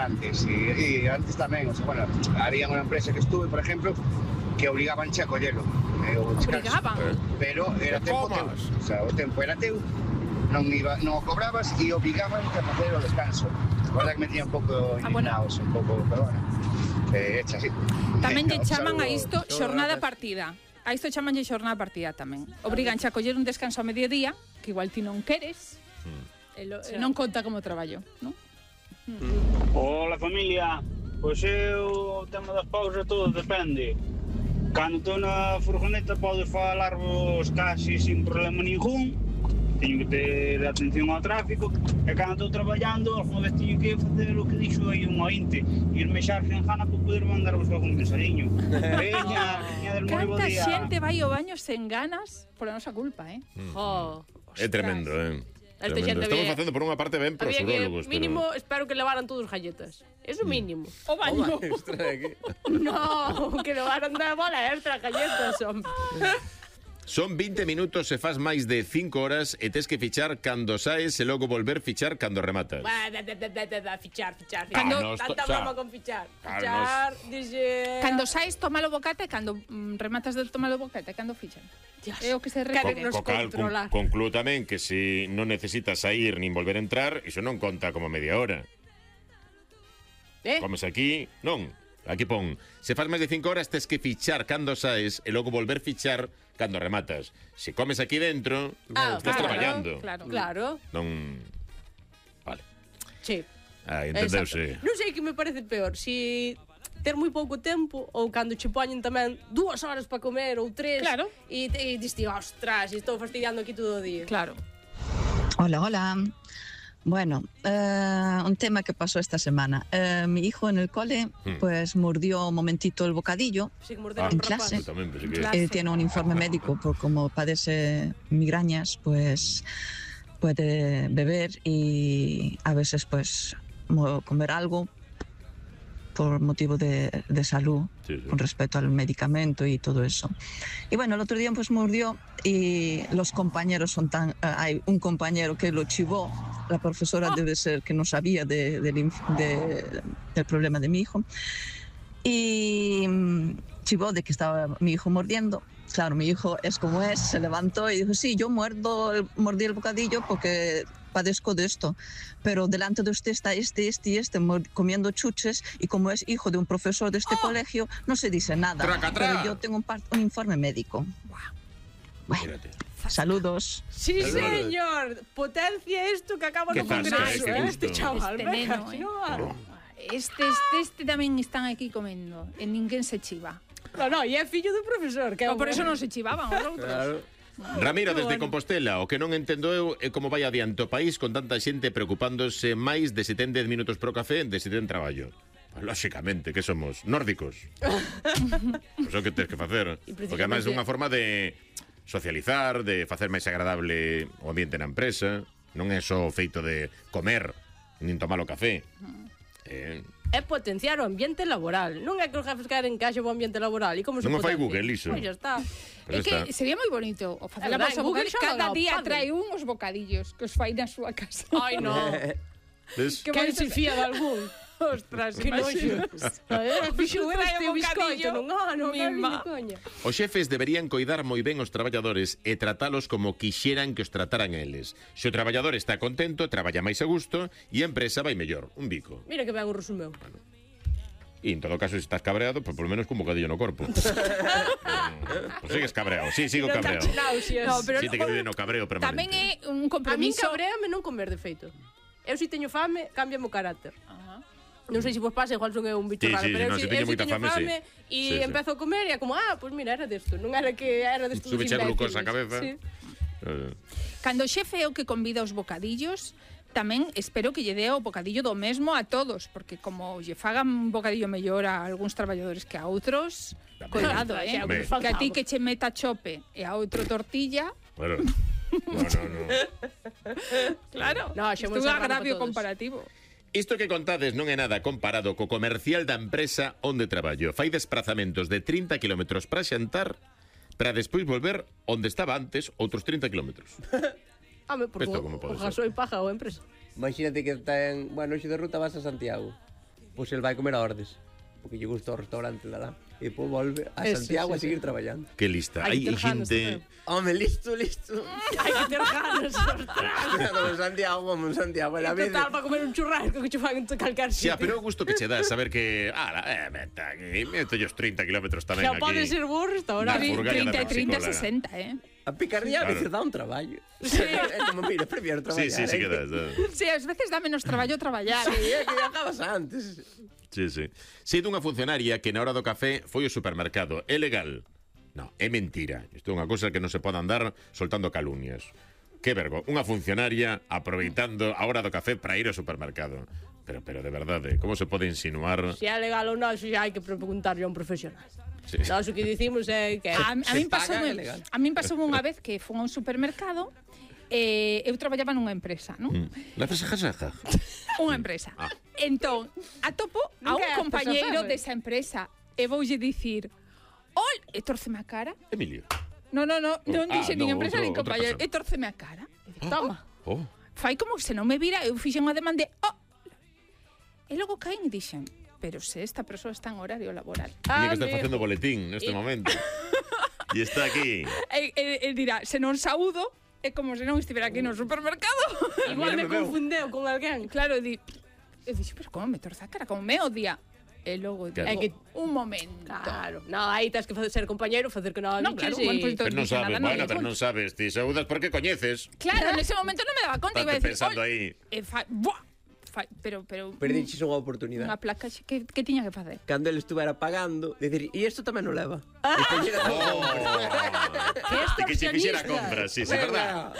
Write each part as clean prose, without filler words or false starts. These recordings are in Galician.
antes. E antes tamén, o sea, bueno, había unha empresa que estuve, por exemplo, que obligaban a collelo. Obligaban? Pero era tempo teu. O sea, o tempo era teu, non o cobrabas e obligaban a facer o descanso. A verdad que me tiña un pouco indignados, un pouco, pero bueno, hecha así. Tamén lle chaman a isto xornada partida. A isto chamanlle xornada partida tamén. Obriganche a coller un descanso a mediodía, que igual ti non queres, non conta como traballo, non? Hola familia, pois eu o tema das pausas todo depende. Cando estou na furgoneta podes falarvos casi sin problema ningún, teño que ter atención ao tráfico, e cando estou traballando, alguna vez teño que facer o que dixo aí un ointe, irme xa a Argenjana para poder mandarvos algún mensajiño. Veña del moi bo Canta día. xente vai ao baño sen ganas por a nosa culpa, É tremendo, Tremendo. Estamos facendo por unha parte ben pros urólogos, mínimo, espero que levaran todos galletas. Eso mínimo. O baño. No, que levaran da bola extra galletas, hombre. Son 20 minutos se faz máis de 5 horas e tes que fichar cando saes e logo volver fichar cando rematas. Fichar. Cando- Tanta broma con fichar. Fichar, dixe... Cando saes, tomalo bocata e cando rematas de tomalo bocata, cando fichan. É o que se refere. nos controlar. Conclúo tamén que se non necesitas sair nin volver a entrar, iso non conta como media hora. Comes aquí, non. Aquí pon, se faz máis de 5 horas tes que fichar cando saes e logo volver fichar cando rematas. Se comes aquí dentro, estás traballando. Claro. Non... Vale. Sí. Entendeuse. Non sei que me parece peor, si ter moi pouco tempo ou cando che poñen tamén 2 horas para comer ou 3. Claro. E diste, ostras, estou fastidiando aquí todo o día. Claro. Hola. Bueno, un tema que pasó esta semana. Mi hijo en el cole, pues mordió un momentito el bocadillo en clase. Él tiene un informe médico por como padece migrañas, pues puede beber y a veces pues comer algo por motivo de salud, con respecto al medicamento y todo eso. Y bueno, el otro día pues mordió y los compañeros son tan... hay un compañero que lo chivó, la profesora debe ser que no sabía del problema de mi hijo, y chivó de que estaba mi hijo mordiendo. Claro, mi hijo es como es, se levantó y dijo, sí, yo mordí el bocadillo porque padezco de esto, pero delante de usted está este comiendo chuches y como es hijo de un profesor de este colegio, no se dice nada. Pero yo tengo un informe médico. Bueno, saludos. Sí, señor. Potencia esto que acaba no congreso, este chaval. Este neno, Este tamén están aquí comendo e ninguén se chiva. No, e é fillo do profesor. Que por eso non se chivaban os outros. Claro. Ramiro, desde Compostela, o que non entendo eu é como vai adiante o país con tanta xente preocupándose máis de se ten 10 minutos pro café de se ten traballo. Lóxicamente, que somos? Nórdicos. Pois o que tens que facer. Porque además é unha forma de socializar, de facer máis agradable o ambiente na empresa. Non é só o feito de comer, nin tomar o café. É potenciar o ambiente laboral. Non é que os jefes queren que haxa o ambiente laboral. E como se non o fai potencia? Google, iso. Pois xa está. É que sería moi bonito o facer a vosa bocadillo. Cada día trae uns bocadillos que os fai na súa casa. Ai, non. Que se fía de algún. Ostras, que noxo. Fixo este biscoito nun ano, coña. Os xefes deberían coidar moi ben os traballadores e tratalos como quixeran que os trataran a eles. Se o traballador está contento, traballa máis a gusto e a empresa vai mellor. Un bico. Mira que ben o resumeu. E en todo caso, se estás cabreado, pues por lo menos con un bocadillo no corpo. Pues sigues cabreado. Sí, sigo cabreado. No, pero sí, te quedé no cabreo permanente. Tamén é un compromiso. A min cabreame non comer de feito. Eu si teño fame, cámbiame o carácter. Non sei se vos pasa, igual son eu un bicho raro, pero eu si teño fame e empezo a comer e é como, pues mira, era desto, non era que era desto. Súbeche a glucosa a cabeza. Cando o xefe é o que convida os bocadillos, tamén espero que lle dé o bocadillo do mesmo a todos, porque como lle fagan un bocadillo mellor a algúns traballadores que a outros, cuidado, que a ti que che meta chope e a outro tortilla. Claro. No. Claro, isto é un agravio comparativo. Isto que contades non é nada comparado co comercial da empresa onde traballo. Fai desplazamentos de 30 km para xantar para despois volver onde estaba antes outros 30 km. Porque o gasoi paga a empresa. Imagínate que ten, bueno, xe de ruta vas a Santiago. pois el vai comer a Ordes, porque lle gusta o restaurante de lá. E depois volve a Santiago a seguir traballando. Que lista. Hai xente... Home, listo. Hai que ter ganas, ostras. En Santiago. E total, para comer un churrasco que che fan en calcar sitio. Xa, pero o gusto que che dá saber que... meto os 30 kilómetros tamén aquí. Xa pode ser bo restaurante. 30, 60, eh? A picardía a veces dá un traballo. É como, mira, prefiero traballar. Sí que dá. Sí, ás veces dá menos traballo traballar. Sí, é que acabas antes. Sí. Sei dunha funcionaria que na hora do café foi ao supermercado. É legal? No, é mentira. Isto é unha cousa que non se pode andar soltando calumnias. Que vergo, unha funcionaria aproveitando a hora do café para ir ao supermercado. Pero de verdade, como se pode insinuar? Se é legal ou non, xa hai que preguntarlle a un profesional. Sí. Nós o que dicimos é que... A min pasou unha vez que fui a un supermercado. Eu traballaba nunha empresa, non? Na empresa Unha empresa. Entón, atopo a un compañeiro desa empresa e voulle dicir: "Ol, e torceme a cara." Emilio. Non dixe nin empresa nin compañeiro, e torceme a cara. Toma. Fai como se non me vira, eu fixen unha demanda e logo caen e dixen: "Pero se esta persoa está en horario laboral." Tiña que estar facendo boletín neste momento. E está aquí. E dirá: "Se non saúdo, é como se non estivera aquí no supermercado." Igual me confundeu con alguén. Claro, eu dixo, pero como me torce a cara, como me odia. E logo digo, un momento. Claro, aí tens que ser compañeiro, facer que non queres. Pero non sabes, pero non sabes, ti saúdas porque coñeces. Claro, nese momento non me daba conta. Estás pensando aí. Pero perdiches unha oportunidade. Unha placa que tiña que facer. Cando ele estuvera pagando, decir, e isto tamén non leva. Que se fixera compras, sí, verdad.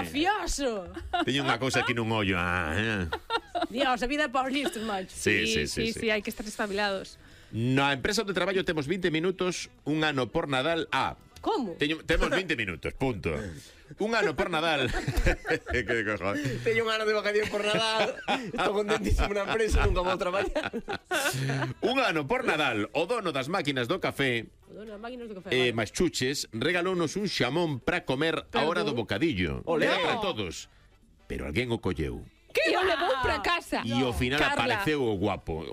Mafioso. Teño unha cousa aquí nun ollo. Dios, a vida é para os listos, macho. Sí, hai que estar estabilados. Na empresa onde traballo temos 20 minutos, un ano por Nadal. Como? Temos 20 minutos, punto. Un ano por Nadal. Que cojo. Teño un ano de vacación por Nadal. Estou contentísimo na empresa, nunca vou traballar. Un ano por Nadal, o dono das máquinas do café, máis chuches, regalounos un xamón para comer a hora do bocadillo. Era para todos. Pero alguén o colleu. Que o levou para casa. E ao final apareceu o guapo.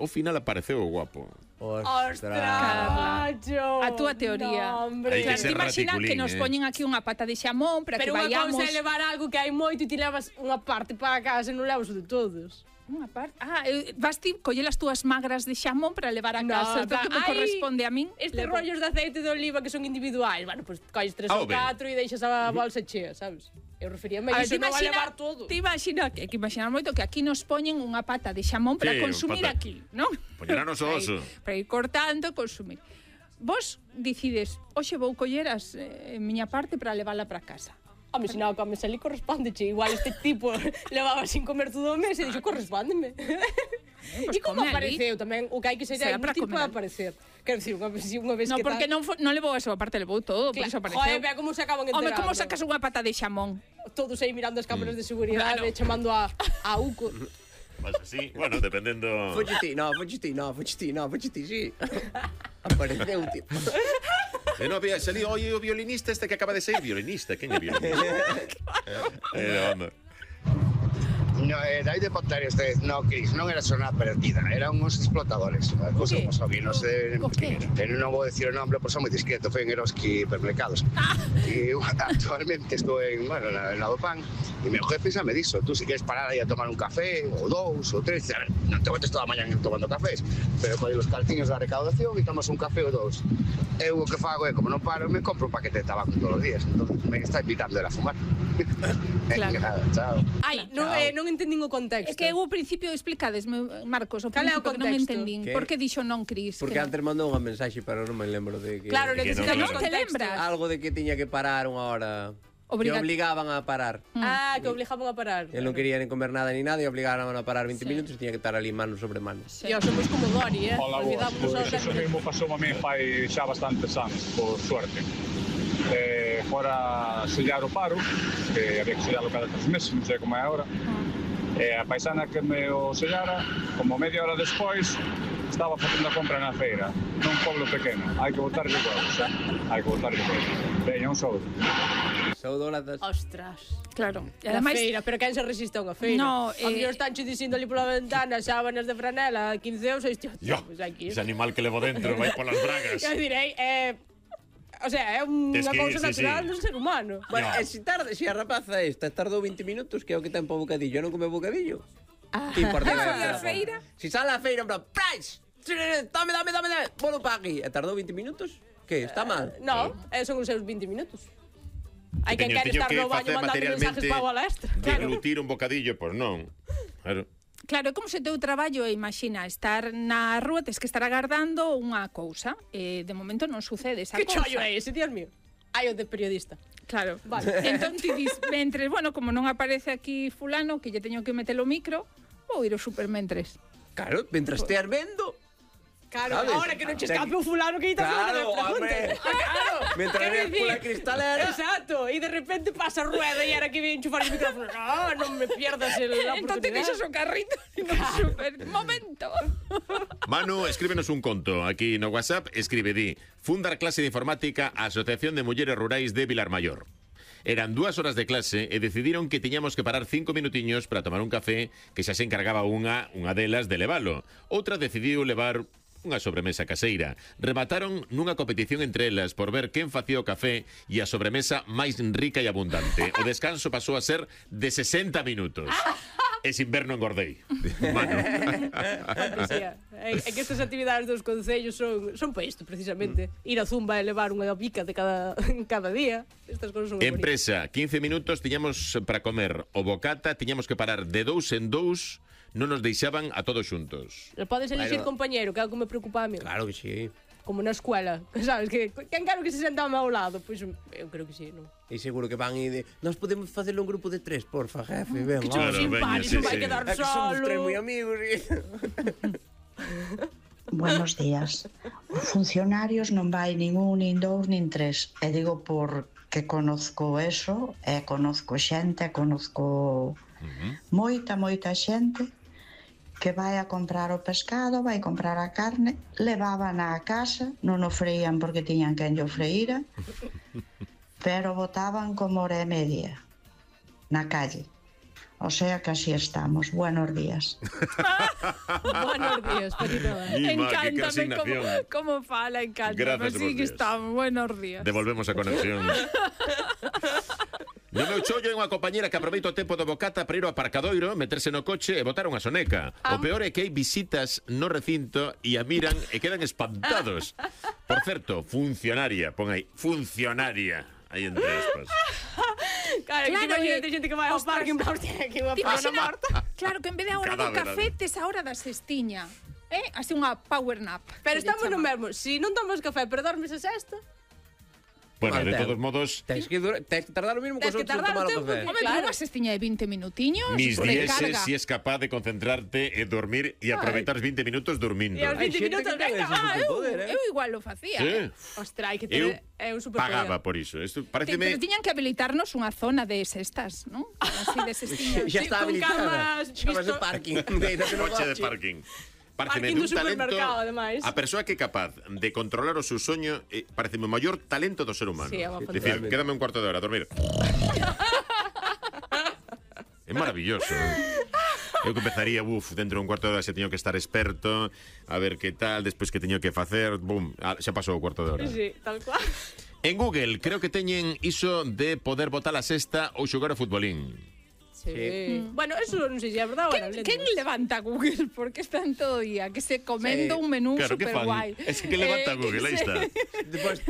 Ostras, macho. A túa teoría. Te imaginas que nos poñen aquí unha pata de xamón para que vayamos... Pero unha cousa é levar algo que hai moito e ti levas unha parte para casa e non levas o de todos. Unha parte? Vas ti coller as túas magras de xamón para levar a casa. Isto que me corresponde a min. Estes rollos de aceite de oliva que son individuais. Bueno, pois colles 3 ou 4 e deixas a bolsa chea, sabes? Eu referíame a iso, non a levar todo. Te imaginas que imaginar moito que aquí nos poñen unha pata de xamón para consumir aquí, non? Poñeranos o oso. Para ir cortando, consumir. Vos decides, hoxe vou coller as miña parte para levala para casa. Home, se non comes ali, correspóndeche. Igual este tipo levaba sin comer todo o mes e dixo, correspóndeme. E como apareceu tamén, o que hai que ser é un tipo de aparecer. Quero dicir, unha vez que... Non, porque non levou a súa parte, levou todo, por iso apareceu. Joder, vea como se acaban enterando. Home, como sacas unha pata de xamón? Todos aí mirando as cámaras de seguridade, chamando a Uco. Mas así, bueno, dependendo... Fuchiti, sí. Apareceu, tío. Non había salido hoy o violinista este que acaba de ser violinista. Quen é violinista? No, David de Pontario este, no, Cris, non era zona perdida, eran uns explotadores, cousa como sabía, non sei non vou decir o nome, por son moi discreto, foi en Eroski Hipermercados. E actualmente estou en, bueno, na do pan, e meu jefe xa me dixo, tú si queres parar aí a tomar un café, ou 2, ou 3, a ver, non te botes toda a mañan tomando cafés, pero con os calciños da recaudación e tomas un café ou 2. Eu o que fago é, como non paro, me compro un paquete de tabaco todos os días, entón me está invitando a fumar. Claro. Chao. Ai, non entendín o contexto. É que eu ao principio explicades, Marcos, o principio que non entendín. Por que dixo non, Cris? Porque antes mandou unha mensaxe, pero non me lembro de que... Claro, que non te lembras. Algo de que tiña que parar unha hora... Que obligaban a parar. Que obligaban a parar. Él non quería nin comer nada ni nada e obligaban a parar 20 minutos e tiña que estar ali mano sobre mano. Dios, somos como Dori, Hola, vos. Eso mesmo pasou a mí fai xa bastantes anos, por suerte. Fora sellar o paro, que había que sellarlo cada 3 meses, non sei como é agora. A paisana que me o sellara, como media hora despois, estaba facendo a compra na feira, nun pueblo pequeno. Hai que botarlle huevos, hai que botarlle huevos. Veña, un saúdo. Saudoladas. Ostras. Claro. E ademais, feira, pero quen se resiste a unha feira? No, a mellor estanche dicindo ali pola ventana sábanas de franela, 15 euros, pues ese animal que levo dentro vai polas bragas. Eu direi, o sea, é unha cousa natural do ser humano. Bueno, se a rapaza esta tardou 20 minutos, que é o que ten po bocadillo, eu non come bocadillo. Que importa a feira? Si sale a feira, en plan, price! Dame, bolo pa aquí. E tardou 20 minutos? Que, está mal? No, son os seus 20 minutos. Hai quen quere estar no baño mandando mensajes pa o extra. Deglutir un bocadillo, pois non. Claro. Claro, como se teu traballo, imagina, estar na rúa, tes que estar agardando unha cousa. De momento non sucede esa cousa. Que chollo é ese, Dios mío? Hai o de periodista. Claro. Vale. Entón ti dis, mentres, bueno, como non aparece aquí fulano, que lle teño que meter o micro, vou ir ao supermentres. Claro, mentras esteas vendo. Claro, ahora que non che escape o fulano que está claro, hombre. Claro. Mentras veas pola cristalera. Exacto, e de repente pasa a rueda e era que viene enchufar o micrófono. Non me pierdas la oportunidade. Entón te deixas o carrito no super momento. Manu, escríbenos un conto aquí no WhatsApp, escribe, di, fundar clase de informática a Asociación de Mulleres Rurais de Vilarmayor. Eran 2 horas de clase e decidiron que tiñamos que parar 5 minutiños para tomar un café, que xa se encargaba unha delas de levalo. Outra decidiu levar unha sobremesa caseira. Remataron nunha competición entre elas por ver quen facía o café e a sobremesa máis rica e abundante. O descanso pasou a ser de 60 minutos. E sin ver non engordei. Mano. É que estas actividades dos concellos son para isto, precisamente. Ir a Zumba e levar unha bica de cada día. Estas cousas son empresa, 15 minutos tiñamos para comer o bocata, tiñamos que parar de 2 en 2. Non nos deixaban a todos xuntos. Podes elixir compañeiro, que é algo que me preocupa a mí. Claro que sí. Como na escuela, sabes, que quen quero que se senta ao meu lado? Pois eu creo que sí, non? E seguro que van e nós podemos facelo un grupo de 3, porfa, jefe, ven. Que chulo simpático, vai quedar solo. Somos 3 moi amigos. Buenos días. Os funcionarios non vai nin un, nin dous, nin tres. E digo porque conozco eso, e conozco xente, conozco moita xente que vai a comprar o pescado, vai comprar a carne, levaban á casa, non o freían porque tiñan quen lle freíra, pero botaban como hora e media na calle. O sea que así estamos. Buenos días. Buenos días, Petito. Encántame como fala, encántame. Así que estamos. Buenos días. Devolvemos a conexión. No meu chollo é unha compañera que aproveita o tempo do bocata para ir ao aparcadoiro, meterse no coche e botar unha soneca. O peor é que hai visitas no recinto e a miran e quedan espantados. Por certo, funcionaria, pon aí, funcionaria. Aí entre aspas. Claro, que imagínate xente que vai ao parque en plan, que unha persona morta. Claro, que en vez de a hora do café, tes a hora da cestiña. Así unha power nap. Pero estamos no mesmo. Si non tomas café, pero dormes a sesta, bueno, de todos modos... Tens que tardar o mismo que os outros en tomar o café. Home, pero unha cestiña de 20 minutiños... Mis dieces, si es capaz de concentrarte e dormir e aproveitar os 20 minutos dormindo. E os 20 minutos, venga, eu igual lo facía. Ostras, hai que ter... Eu pagaba por iso. Pero tiñan que habilitarnos unha zona de sestas, non? Así de cestiñas. Xa está habilitada. Chamase parking. Coche de parking. Pareceme un talento, ademais. a persoa que é capaz de controlar o seu soño, pareceme o maior talento do ser humano. Sí, dicir, quédame un cuarto de hora a dormir. É maravilloso. Eu que empezaría, dentro de un cuarto de hora xa teño que estar experto, a ver que tal, despois que teño que facer, xa pasou o cuarto de hora. Sí, tal cual. En Google creo que teñen iso de poder botar a sexta ou xogar ao futbolín. Sí. Bueno, eso non sei se é verdade ou non. Quen levanta Google? Porque están todo o día que se comendo un menú super guai. Es que levanta Google, aí está.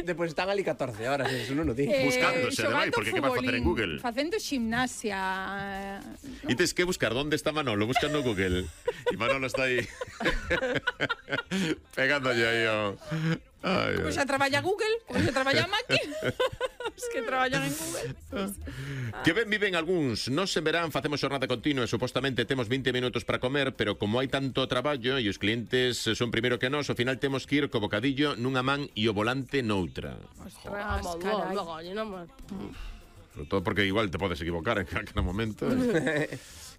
Despois están ali 14 horas, eso non o di. Buscándose, ademais, porque que vas facer en Google? Facendo gimnasia. E tes que buscar onde está Manolo, buscando no Google. E Manolo está aí pegándolle aí o... Como xa traballa Google, como xa traballa máquina. Os que traballan en Google. Que ben viven algúns. Nos en verán facemos xornada continua e supostamente temos 20 minutos para comer, pero como hai tanto traballo e os clientes son primeiro que nós, ao final temos que ir co bocadillo nunha man e o volante noutra. Ostras, carai. Sobre todo porque igual te podes equivocar en cada momento.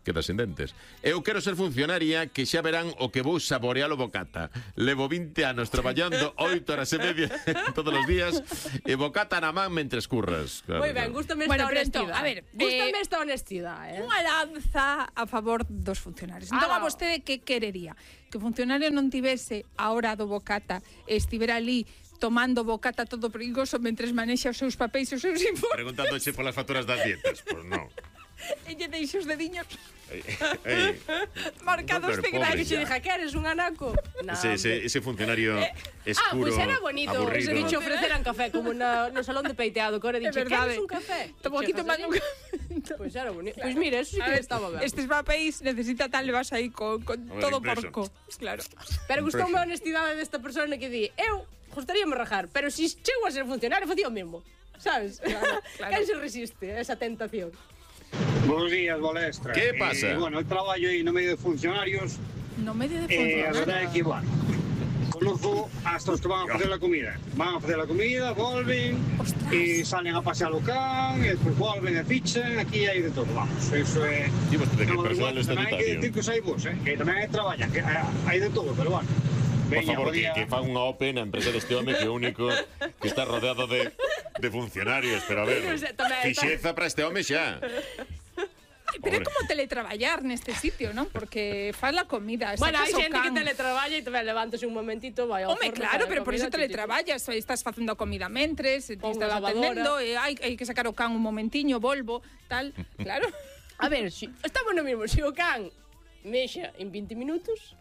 quedas sin dentes. Eu quero ser funcionaria que xa verán o que vou saborear o bocata. Levo 20 anos traballando 8 horas e media todos os días e bocata na man mentres curras. Moi ben, gústame esta honestidade. A ver, gústame esta honestidade. Unha lanza a favor dos funcionarios. Entón, a vostede que querería? Que o funcionario non tivese a hora do bocata e estivera ali tomando bocata todo perigoso mentres manexa os seus papéis e os seus informes. Preguntándoche polas facturas das dietas. Pois non. E lle deixo os dediños marcados de grande. Que xe dija, que eres un anaco? Ese funcionario escuro, pues era bonito. aburrido. Se dicho ofreceran café, como no salón de peiteado, que ahora dixe, queres un café? Tomo aquí tomando un café. Pues era bonito. Pues mira, eso sí que estaba ben. Estes papéis necesita tal, le vas aí con todo porco. Claro. Pero gustoume a honestidade desta persona que di, eu gustaríame rajar, pero si chego a ser funcionario, facía o mesmo. Sabes? Claro. Quen se resiste a esa tentación? Buenos días, Balestra. ¿Qué pasa? Bueno, eu traballo aí no medio de funcionarios. No medio de funcionarios? A verdade é que, bueno, conozco hasta os que van a facer a comida. Van a facer a comida, volven, e salen a pasear o can, e despois volven e fichan, aquí hai de todo, vamos. Eso é... Digo, de que personal tamén hai que decir que os hai vos, que tamén hai traballan, que hai de todo, pero bueno. Por favor, que fan unha OPE na empresa deste home que é o único que está rodeado de funcionarios. Pero a ver, fixeza para este home xa. Pero é como teletraballar neste sitio, non? Porque faz la comida. Bueno, hai xente que teletraballa e tamén levántase un momentito, vai ao forno. Home, claro, pero por iso teletraballas. Estás facendo a comida mentres, estás atendendo, hai que sacar o can un momentiño, volvo, tal. Claro. A ver, estamos no mesmo. Se o can mexa en 20 minutos...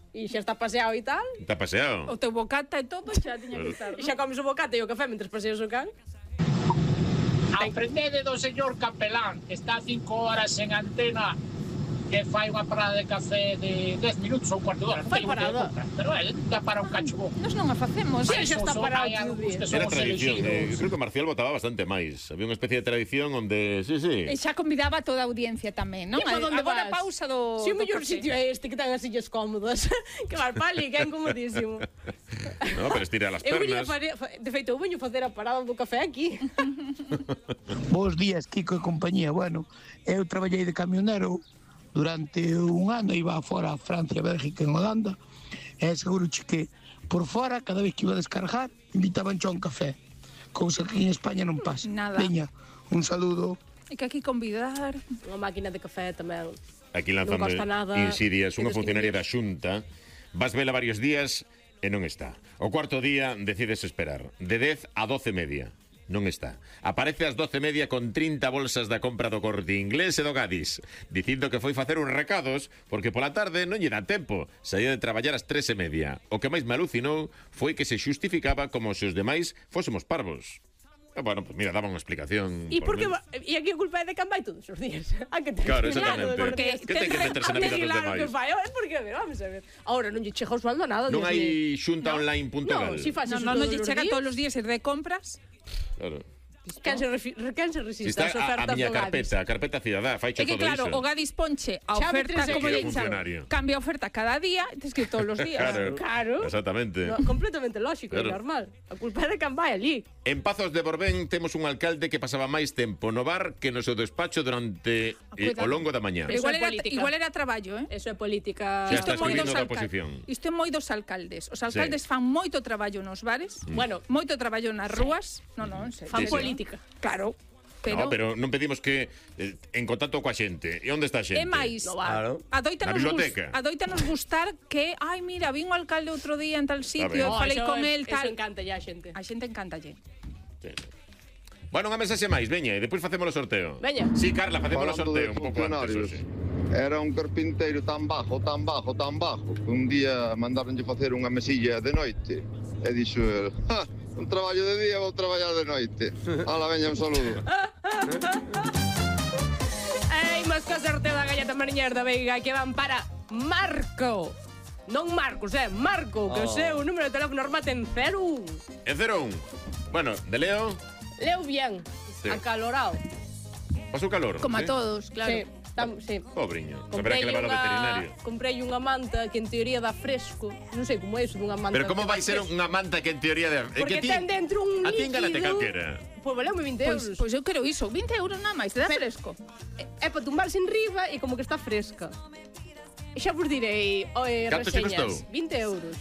E xa está paseado e tal. Está paseado. O teu bocata e todo xa tiña que estar. E xa comes o bocata e o café mentre paseas o can. Aprendede do señor capelán, que está 5 horas en antena, que fai unha parada de café de 10 minutos ou un cuarto de hora. Fai parada. Pero já para un cacho bom. Nos non a facemos. Sí, xa está parado todo o día. Era tradición. Creo que Marcial votaba bastante máis. Había unha especie de tradición onde... Sí. E xa convidaba a toda a audiencia tamén, non? Agora pausa do... Si o mellor sitio é este que ten as sillas cómodas. Que vas pali, que é incomodísimo. No, pero estira as pernas. De feito, eu veño facer a parada do café aquí. Bos días, Kiko e compañía. Bueno, eu traballei de camionero durante un ano, iba fora a Francia, Bélgica, en Holanda, e seguro que por fora, cada vez que iba a descargar, invitaban a un café, cousa que en España non pasa. Nada. Veña, un saludo. E que aquí convidar. Unha máquina de café tamén. Aquí lanzando insidias, unha funcionaria da Xunta, vas vela varios días e non está. O cuarto día decides esperar, de 10 a 12:30. Non está. Aparece ás 12:30 con 30 bolsas da compra do Corte Inglés e do Gadis, dicindo que foi facer uns recados porque pola tarde non lle dá tempo. Saía de traballar ás 3:30. O que máis me alucinou foi que se xustificaba como se os demais fósemos parvos. Bueno, pues mira, daba unha explicación. E aquí a culpa é de Can vai todos os días. Claro, exactamente. Que ten que meterse na vida dos demais? Porque, vamos a ver. Ahora non lle chega o sueldo a nada. Non hai xuntaonline.gal. Non, si faz non lle chega todos os días ir de compras. Claro. Quen se resiste está as ofertas a miña do Gadis. carpeta cidadá, fai todo iso. É que claro, o Gadis ponche a oferta como lle cambia a oferta cada día, tes que ir todos os días. Claro. Exactamente. Completamente lógico, é normal. A culpa é de Can vai ali. En Pazos de Borbén temos un alcalde que pasaba máis tempo no bar que no seu despacho durante o longo da mañá. Igual era traballo, Eso é política. Xa está escribindo da oposición. Isto é moi dos alcaldes. Os alcaldes fan moito traballo nos bares, moito traballo nas rúas. Non, en serio. Fan política. Claro. Pero non pedimos que en contacto coa xente. E onde está a xente? É máis, adoítanos gustar que, ai, mira, vin o alcalde outro día en tal sitio, falei con el, tal. Eso encanta ya a xente. A xente encantalle. Bueno, unha mensaxe máis, veña, e depois facemos o sorteo. Veña. Sí, Carla, facemos o sorteo un pouco antes. Era un carpinteiro tan bajo, que un día mandaronlle facer unha mesilla de noite. E dixo el, un traballo de día, vou traballar de noite. Ala, veña, un saludo. Imos co sorteo da galleta mariñer da Veiga que van para Marco. Non Marcos, Marco, que o seu número de teléfono remate en 01. En 01. Bueno, de Leo? Leo bien, acalorado. Pasou calor? Como a todos, claro. Sí. Sí. Pobriño, haberá que levar ao veterinario. Comprei unha manta que en teoría dá fresco. Non sei como é iso dunha manta. Pero como vai ser unha manta que en teoría dá... Porque ten dentro un líquido... A ti engánate calquera. Pois valeume 20 euros. Pois eu quero iso, 20 euros nada máis, te dá fresco. É para tumbarse en riba e como que está fresca. E xa vos direi canto che costou? 20 euros.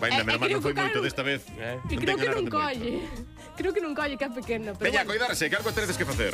Ainda, menos mal non foi moito desta vez. E creo que non colle. Creo que non colle, que é pequena. Veña, coidarse, que algo teredes que facer.